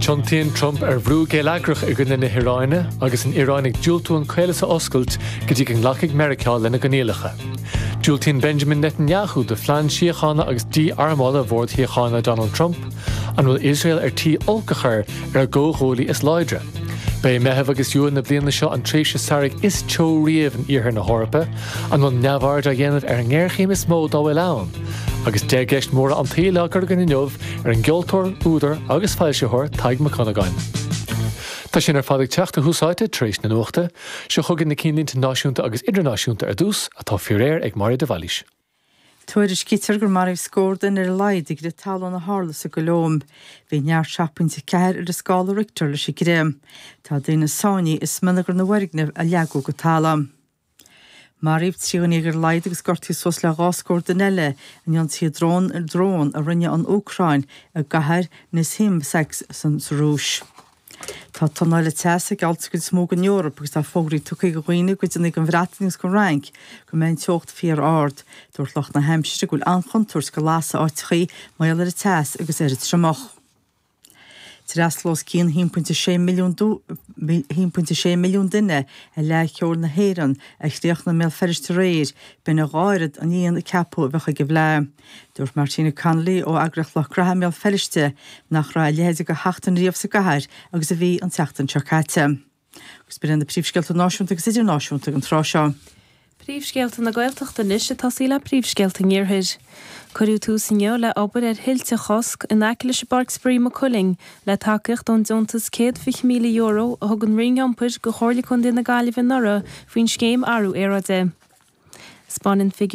Tiontaíonn Trump ar bhrú geilleagrach i gcoinne na hIaráine agus an Iaráin ag diúltú an caolas a oscailt go dtí go nglacfaidh Meiriceá lena gcoinníollacha. Diúltaíonn Benjamin Netanyahu do phlean síochána agus dí-armála Bhord Síochána Donald Trump. An bhfuil Iosrael ar tí olc a chur ar a gcomhghuaillí is láidre? Ba é Meitheamh agus Iúil na bliana seo an tréimhse samhraidh is teo riamh in iarthar na hEorpa. An bhfuil neamhaird á dhéanamh ar an ngéarchéim is mó dá bhfuil ann? Agus 10 gceist mhóra an tsaoil á gcur againn inniu ar an gceoltóir, údar agus foilsitheoir Tadhg Mac Dhonnagáin. Tá sin ar fad ag teacht a thús áite tar éis na nuachta. Seo chugainn na cinnlínte náisiúnta agus idirnáisiúnta ar dtús, atá faoi réir ag Máire de Bhailís. Tuairiscítear gur maraíodh scór duine ar a laghad i gcrith talún a tharla sa gColóim. Bhí neart 7.4 ar an scála Richter leis an gcrith. Tá daoine sáinnithe i smionagar na bhfoirgneamh a leagadh go talamh. Maraíodh 13 dhuine ar a laghad agus gortaíodh suas le dhá scór duine eile in ionsaithe drón drón a rinne an Úcráin i gcathair Nizhnevartovsk sa Rúis. Tá tonn eile teasa ag geallt sa gcuid is mó den Eoraip agus tá fógraí tugtha do dhaoine i gcuideanna den Bhreatain agus den Fhrainc go mbeidh an teocht fíor-ard. Dúirt lucht na haimsire go bhfuil an-chontúirt go lasadh áiteachaí mar gheall ar an teas agus ar an triomach. D'fhreastail os cionn 1.6 milliún 1.6 milliún duine ar Fhleadh Cheoil na hÉireann a chríochnaigh i mBéal Feirste aréir, b'in a dhá oiread an líon a ceapadh a bheadh ag an bhFleadh. Dúirt Martina Connolly ó eagraíocht Lucht Graithe i mBéal Feirste nach raibh a leithéid de sheachtain riamh sa gcathair agus a bhí an tseachtain seo caite. Agus b'in iad na príomhscéalta náisiúnta agus idirnáisiúnta ag an tráth seo. Príomhscéalta na Gaeltachta anois ag tosaí le príomhscéalta an Iarthair. Cuireadh tús inniu le obair ar thuilte a chosc in aice leis an bPáirc Spraoi i Maigh Cuilinn le tacaíocht ón deontas €120,000 a thug an Roinn Iompair go Chomhairle Contae na Gaillimhe anuraidh faoin scéim Athrú Aeráide. 'Spáineann figiúirí.